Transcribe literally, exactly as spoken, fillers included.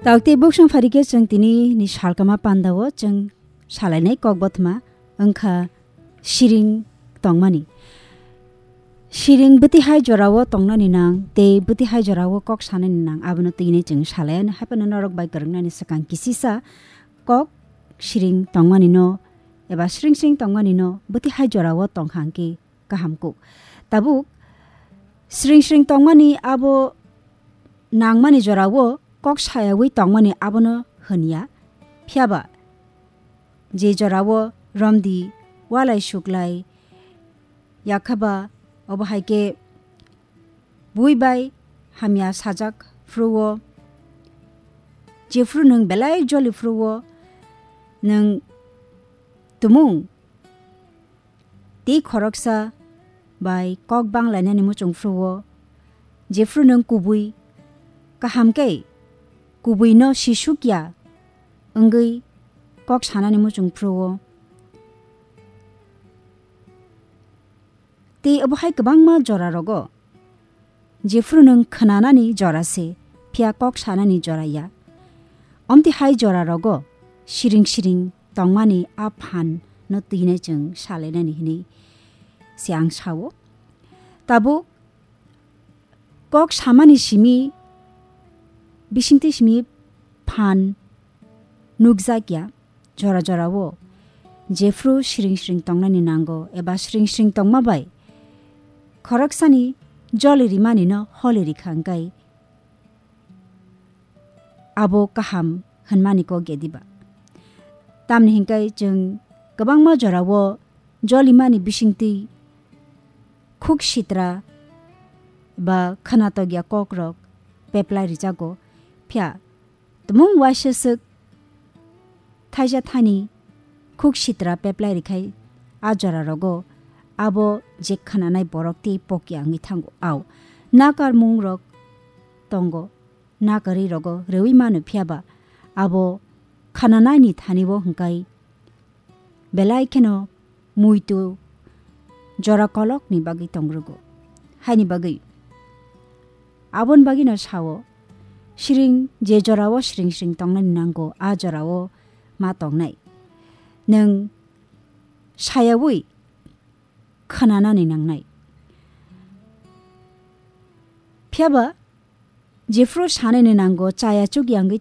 Tabuk tei buksong pharikhe chwng tini ni salkama pandao chwng salainai kok bothma wngkha siring tongmani. Siring bwtwi hai jorao tongnani nang tei bwtwi hai jorao kok sanani nang abono twinai chwng salaianw. Haiphano norok bai kwrwngnani swkang kisisa kok siring tongmani no eba siring siring tongmani no bwtwi hai jorao tongkha hwnkhe kaham kuk. Tabuk siring siring tongmani abo nangmani jorao kok sayawi tongmani abono hwnya. Phiyaba je jorao romdi walai suklai yakhaba obo hai khe bui bai hamya sajak phruo, jephru nwng belai joli phruo, nwng tumung tei khoroksa bai kok bang lainani muchung phruo, jephru nwng kubui kaham khe kubui no sisuk ya wngwi kok sanani muchung phruo. Tei obo hai kwbangma jora rogo jephru nwng khwnanani jora se, phiya kok sanani jora ya. Omti hai jora rogo siring siring tongmani a phan no twinai chwng salainani hinwi se ang sao. Tabuk kok samani simi, bisingtwi simi phan nukjak ya, jora jorao jephru siring siring tongnani nango eba siring siring tongma bai khoroksani joli rimani no holi rikha hwnkhe abo kaham hwnmani kok ya diba? Tamni hwnkhe chwng kwbangma jorao jolimani bisingtwi khuk sitra ba khwnatok ya kokrok peplai rijago, phiya tumung waisa swk thaisa thani khuk sitra peplai rikhai a jora rogo abo je khwnanai borok tei pokya wngwi thango. Au nakarmung rok tongo, nakarwi rogo rewi mano, phiyaba abo khwnanaini thani bo hwnkhe belai kheno muitu jora kolokni bagwi tongrugo. Haini bagwi aboni bagwino sao, siring je jorao siring siring tongnani nango, a jorao ma tongnai. Nwng sayawi khwnanani nangnai. Phiyaba jephru sanani nango chaya chukya wngwi